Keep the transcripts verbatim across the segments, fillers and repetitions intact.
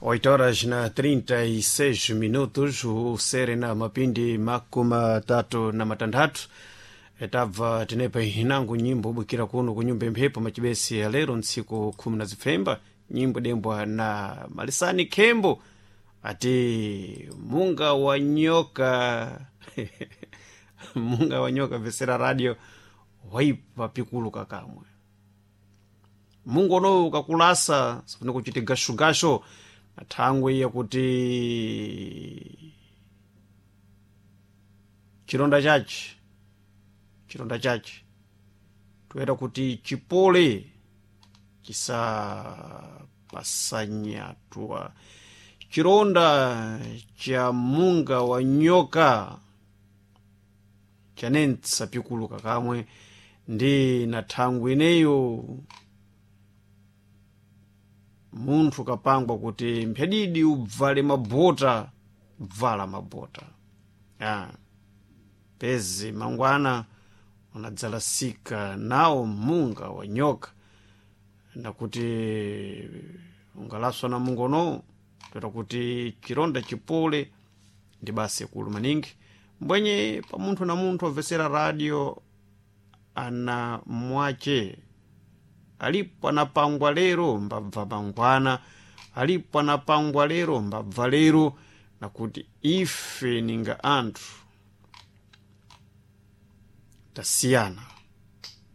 oito horas na trinta e seis minutos, usere na mapindi makumi tatu na matanthatu. Tabva tenepa inango nyimbo ubukira kuno kunyumba imphepo machibesi ya lero ntsiku khumi na zipfemba, nyimbo dembwa na Malisani Khembo ati "Munga wa nyoka". Munga wa nyoka, vesera radio, waipa pikuluka kamwe. Mungu unowu ukakulasa sifuna kuchita gashugasho na thangwe yakuti chilonda chache chilonda chache toyera kuti chipole chisapasanyatwa. Chilonda cha munga wa nyoka chanentsa pikuluka kamwe ndi na thangwe ineyo munthu kapangwa kuti mphedidi ubvale mabota, bvala mabota ya pezi mangwana unadzalasika nawo munga wa nyoka, nakuti ungalaswa na munga unowu toera kuti chilonda chipole ndi basi kulu maningi. Mbwenye pa munthu na munthu obvesera radio ana mwache alipo anapangwa lero mbabva mangwana, alipo anapangwa lero mbabva lero, nakuti ife ninga anthu tasiyana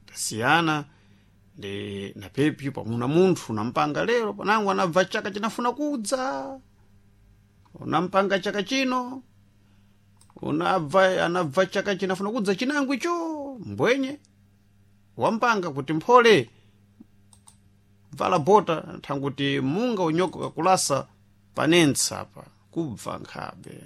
tasiyana ndi napepyo pamuna munthu unampanga lero panango anabva chaka chinafuna kudza, unampanga chaka chino unabva anabva chaka chinafuna kudza chinango icho. Mbwenye wampanga kuti mphole bvala bota thanguti munga unyoka kakulasa panentsa apa kubva nkhabe.